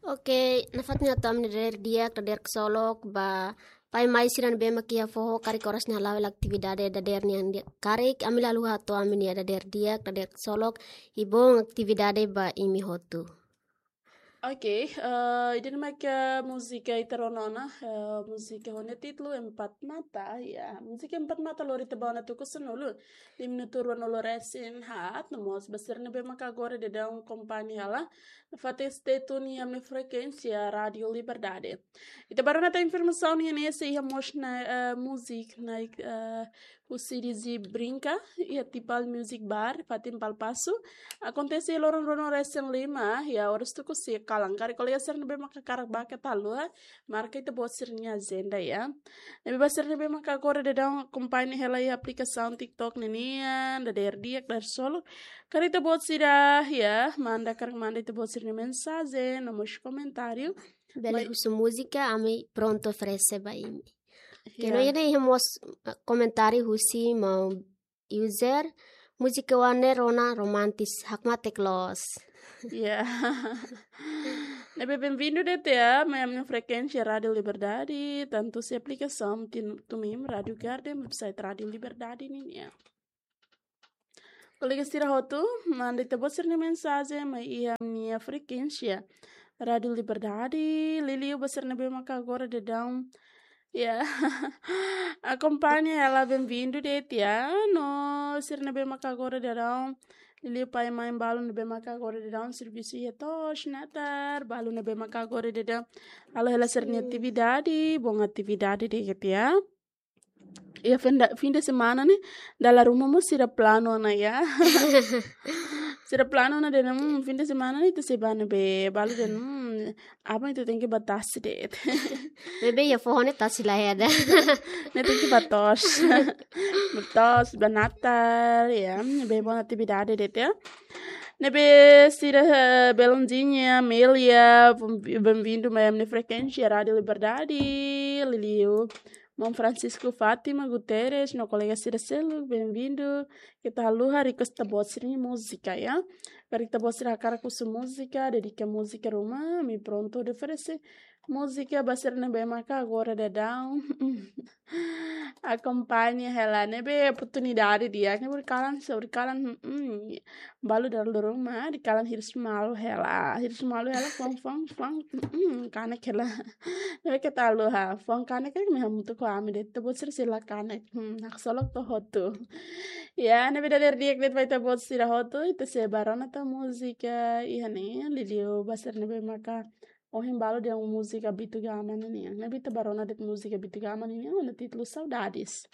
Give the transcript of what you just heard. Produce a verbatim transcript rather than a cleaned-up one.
Oke, nafatin hato'o ami-nia dadeer di'ak, dadeer ksolok ba pai-mai sira ne'ebé mak iha foho, karik oras ne'e hala'o hela atividade dadeer nian di'ak. Karik ami la haluha hato'o ami-nia dadeer di'ak, dadeer ksolok, i bom atividade ba imi hotu. Oke, eh, ida-ne'e mak múzika ita rona ona, eh, múzika ho nia títulu Empat Mata, ya. Múzika Empat Mata lori ita ba ona tuku sanulu, di minutu ruanulu resin haat, no mós ba sira ne'ebé mak agora daudaun akompaña hela, nafatin stay tune iha ami-nia frekuénsia Rádio Liberdade. Ita ba rona tan informasaun nian ne'e, sei iha mós ona, eh, múzika ona, eh, husi Dizzy Brinca, iha Tipal Music Bar, fatin Palpasu. Akontese loron ruanulu resin lima, iha oras tuku sia kalan. Karik kolega sira ne'ebé mak hakarak bá keta haluha, marka ita-boot sira-nia ajenda, ya. Ne'ebé ba sira ne'ebé mak agora daudaun akompaña hela iha aplikasaun TikTok ninian, dadeer di'ak, dadeer ksolok. Karik ita-boot sira, ya, manda, karik manda ita-boot sira-nia mensajen, no mós komentáriu. Bele Mai- husu múzika, ami prontu oferese ba imi. Oke, Ya. no iha ne'e iha mós, eh, komentáriu husi maun user, múzika oan ne'e rona romantis, hakmatek loos. Ya. Ne'ebé benvindu de'it, ya, mai ami-nia frekuénsia Rádio Liberdade, tantu husi aplikasaun TuneIn, Rádio Garden, website Rádio Liberdade nian, ya. Kolega sira hotu, manda ita-boot sira-nia mensajen mai iha ami-nia frekuénsia Rádio Liberdade, liuliu ba sira ne'ebé mak agora daudaun, ya, akompaña hela, benvindu de'it, ya, no sira ne'ebé mak agora daudaun, liuliu pai-mai balu ne'ebé mak agora daudaun servisu iha to'os natar, balu ne'ebé mak agora daudaun halo hela sira-nia Hmm. atividade, bom atividade de'it, ya. Ya, fim de, fim de semana ne'e, dala ruma mós sira planu ona, ya. Sira planu ona dehan, hmm, fim de semana ne'e ita sei bá ne'ebé, balu dehan, hmm, aban ita tenke bá tasi de'it. Ne'ebé iha foho ne'e tasi la iha ida. Ne'e tenke bá to'os. Bá to'os, bá natar, ya, ne'ebé bom atividade de'it, ya. Ne'ebé sira, eh, Belondinha, Amélia, benvindu mai ami-nia frekuénsia Rádio Liberdade, liuliu maun Francisco Fátima Guterres, no kolega sira seluk, benvindu. Keta haluha request ita-boot sira-nia múzika, ya. Karik ita-boot sira hakarak husu múzika, dedika múzika ruma, ami prontu oferese múzika ba sira ne'ebé maka agora daudaun akompaña hela, ne'ebé oportunidade di'ak, ne'ebé horiseik, horiseik, mm, balu dala ruma, horiseik hirus malu hela, hirus malu hela, fuan, fuan, fuan, mm, kanek hela. Ne'ebé keta haluha, fuan kanek, kanek imi hamutuk ho ami de'it, ita-boot sira sei la kanek, hmm, haksolok to'o hotu. Ya, ne'ebé dadeer di'ak de'it ba ita-boot sira hotu, ita sei bá rona tan múzika iha ne'e, liuliu ba sira ne'ebé maka ohin balu dehan múzika Bitu Gama nian. Ne'ebé ita bá rona de'it múzika Bitu Gama nian, ho nia títulu Saudades.